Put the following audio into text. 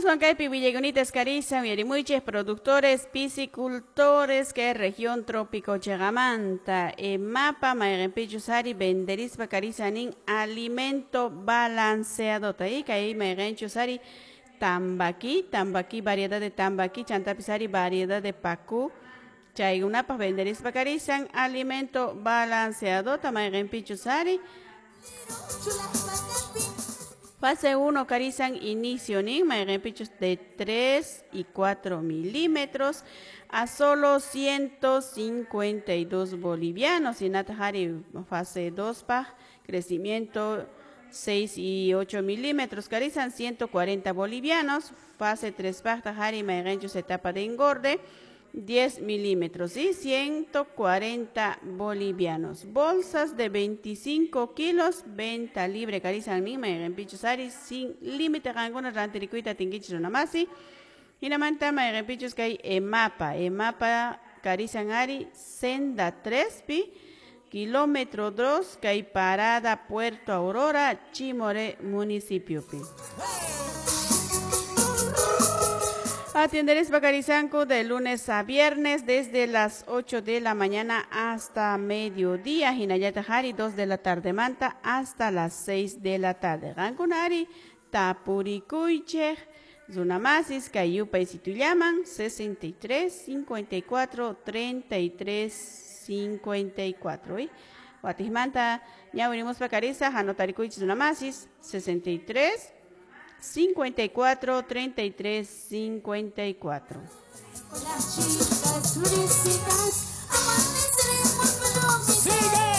Aswan kaypi willaykunita karisan uyarimuchis productores piscicultores que región trópico chegamanta mapa mayqinpichus ari venderispa karisanin alimento balanceado y kay mayqinchus ari tambaqui, tambaqui variedad de tambaqui chantapis ari variedad de pacú chaykunapaq venderispa karisan alimento balanceado mayqinpichus ari fase 1 karisan inicio nin mayqinpichus de 3 y 4 milímetros a solo 152 bolivianos hinataq ari fase 2 paq crecimiento 6 y 8 milímetros karisan 140 bolivianos fase 3 paqtaq ari mayqinchus etapa de engorde 10 milímetros y 140 bolivianos. Bolsas de 25 kilos, venta libre, karisan nin, mayqinpichus ari, sin límite, qankuna rantirikuyta atinkichis runamasi. Hinamanta mayqinpichus kay EMAPA, EMAPA karisan ari, senda 3 pi, kilómetro 2, kay parada Puerto Aurora, Chimoré municipio pi. Atienderes Bacarisanco de lunes a viernes desde las 8 de la mañana hasta mediodía. Hinayata Hari 2 de la tarde manta hasta las 6 de la tarde. Gankunari, Tapurikuyche, Zunamasis, Cayupa y Situllaman, 63 54 33 54. ¿Y? Guatismanta, ñawirimos Bacarisa, Hanotarikuyche, Zunamasis, 63 54 33 54. Las chicas turísticas, amaneceremos.